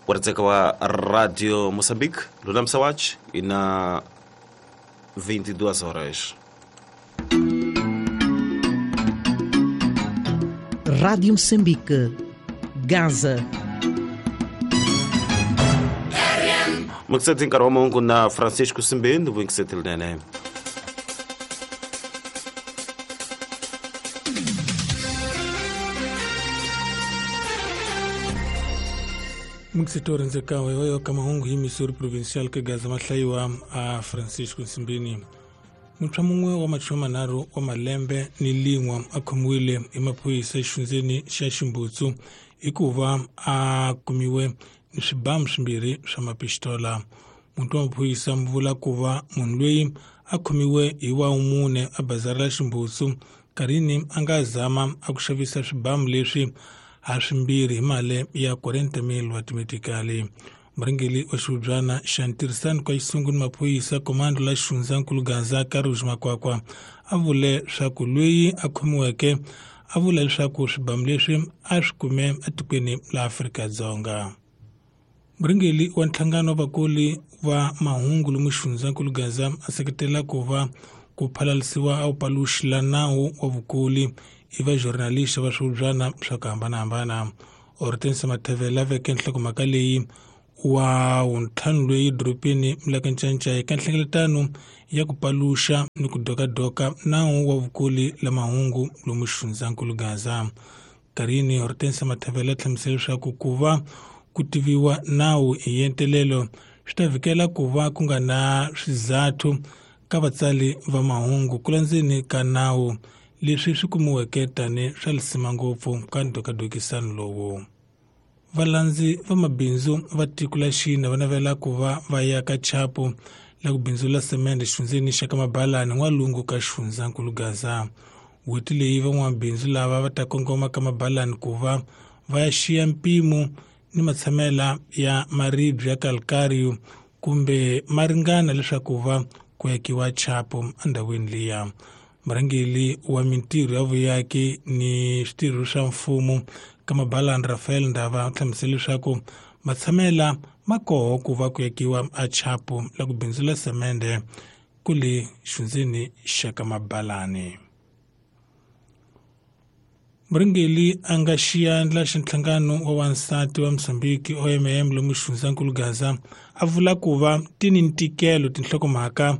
Waritseka wa Radio Moçambique, Lunam Sawach, e na 22 horas. Rádio Moçambique, Gaza. Mukiseti nkarhi wa mahungu na Francisco Simbeni vuyingiseti linene. Mukiseti rhandzekawe wa yo ka mahungu hi Missouri Provincial ka Gaza mahlayiwa a Francisco Simbeni. Muntshwa mun'we wa machumu manharhu wa malembe ni lin'we a khomiwile hi maphorisa exifundzeni xa Ximbutsu hikuva a kumiwe ni swibamu swimbirhi swa mapistola. Muti wa maphorisa mu vula ku va munhu loyi a khomiwe hi wa mune a bazari la Ximbutsu nkarhini a nga zama a ku xavisa swibamu leswi ha swimbirhi hi mali ya 40,000 wa timetikali. Murhangeri wa xihubyana xa ntirhisano ka xisungu ni maphorisa komando la xifundzankulu Gaza Karuji Makwakwa a vule leswaku loyi a khomiweke a vula leswaku swibamu leswi a swi kume etikweni la Afrika-Dzonga. Murhangeri wa nhlangano wa vakoli va mahungu lomu xifundzankulu Gaza a seketela ku va ku phalalisiwa a wu paluxi la nawu wa vukoli i va journalist va swihubyana swa ku hambanahambana. Hortense Mathevela veke nhlokomhaka leyi wa wuntlhanu loyi dorobeni la ka Ncancai eka nhlengeletano ya ku paluxa ni ku dokadoka nawu wa vukoli la mahungu lomu xifundzankulu Gaza. Nkarhini Hortense Mathevela hlamusela leswaku ku va ku tiviwa nawu hi entelelo swi ta vhikela ku va ku nga na swizathu ka vatsali va mahungu ku landzeni ka nawu leswi swi kumiweke tani swa lisima ngopfu ka ndokadokisano lowu. Valandzi va mabindzu va tiko la China va navela ku va va ya ka chapu la ku bindzula semende xifundzeni xa ka Mabalani n'walungu ka xifundzankulu Gaza. N'hweti leyi van'wamabindzu lava va ta kongoma ka Mabalani ku va va ya xiya mpimo ni matshamela ya maribye ya calcario kumbe ma ringana leswaku va ku akiwa chapu endhawini liya. Murhangeri wa mintirho ya vuyaki ni switirho swa mfumo ka Mabalani Rafael Ndava u hlamusele leswaku matshamela ma koho ku va ku akiwa a chapu la ku bindzula semende ku le xifundzeni xa ka Mabalani. Murhangeri a nga xiyandla xa nhlangano wa wansati wa Mozambique OMM lomu xifundzankulu Gaza a vula ku va ti ni ntikelo tinhlokomhaka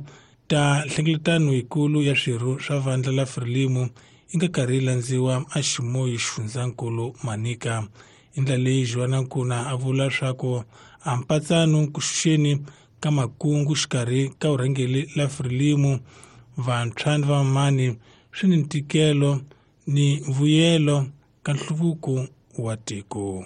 ta nhlengeletano yikulu ya swirho swa vandla la Frelimo yi nga karhi yi landziwa a ximoyi xifundzankulu Manica. Hi ndlela leyi Joana Nkuna a vula leswaku a mpatsano ku xuxeni ka makungu xikarhi ka vurhangeri la Frelimo vantshwa ni vamamani swi ni ntikelo ni vuyelo ka nhluvuko wa tiko.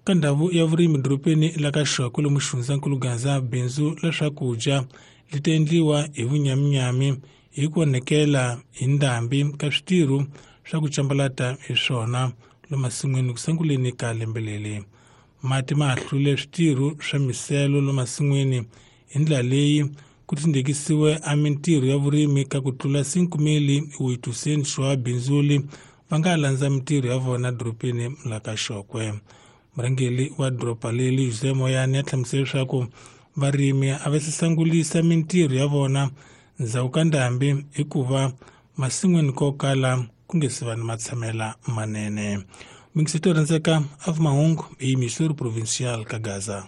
Ka ndhawu ya vurimi dorobeni la ka Xokwe lomu xifundzankulu Gaza bindzu la swakudya li ta endliwa hi vunyaminyami hi ku onhekela hi ndhambi ka switirho swa ku cambalata hi swona lomasin'wini ku sunguleni ka lembe leri. Mati ma hahlule switirho swa miselo lomasin'wini hi ndlela leyi ku tindekisiwe a mintirho ya vurimi ka ku tlula 5,800 wa bindzuli va nga landza mintirho ya vona dorobeni la ka Xokwe. Murhangeri wa doroba leri Jose Moyane a hlamusele leswaku varimi a va sangulisa mintirho ya vona ndzhaku ka ndhambi hikuva masin'wini ko kala ku nge se va ni matshamela manene. Mingiseto rhandzeka a mahungu hi Missouri Provincial ka Gaza.